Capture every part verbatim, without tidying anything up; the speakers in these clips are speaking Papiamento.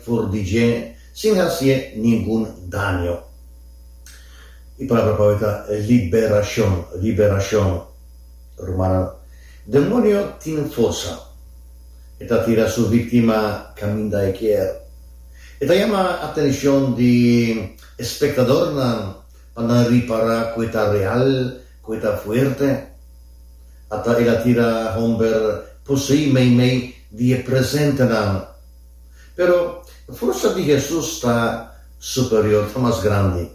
for di dje sin hasié ningun daño. E palabra pa ta liberashon, liberashon. Rumannan, demoño tin forsa. E ta tira su víktima kaminda e ke. E ta yama atenshon di espektadornan pa nan ripará ku e ta real, ku e ta fuerte. Ata el a tira hòmber poseí meimei di e presentenan. Pero forsa di Hesus ta superior, ta mas grandi.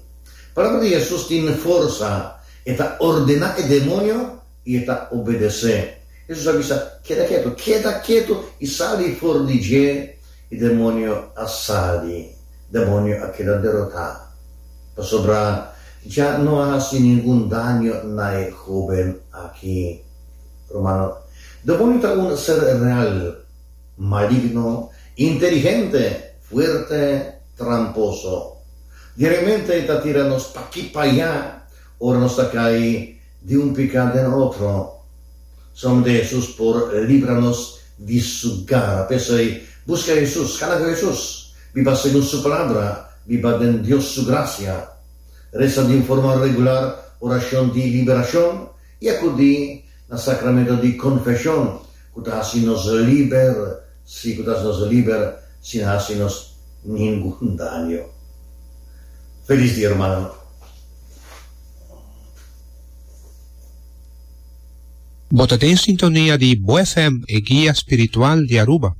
Palabra di Hesus tin forsa, e ta ordená e demoño i e ta obedesé. Hesus a bisa, keda ketu, keda ketu i sali for di dje, i demoño a sali, demoño a keda derotá. Pasobra ya no a hasi ningun daño na e hóben aki. Rumannan, demoño ta un ser real, maligno, inteligente, fuerte, tramposo. Diariamente ta tira nos p'aki p'aya, ora nos ta kai di un piká den otro. Solamente Hesus por libra nos di su gara. P'esei, buska Hesus, kana ku Hesus, biba segun su palabra, biba den Dios su grasia. Resa di un forma regular orashon di liberashon i akudí na sakramento di konfeshon, ku ta hasi nos liber, sí, ku ta hasi nos liber, sin hasi nos ningun daño. Felis dia, rumannan. Bo ta den sintonia di Bo F M, e guia spiritual di Aruba.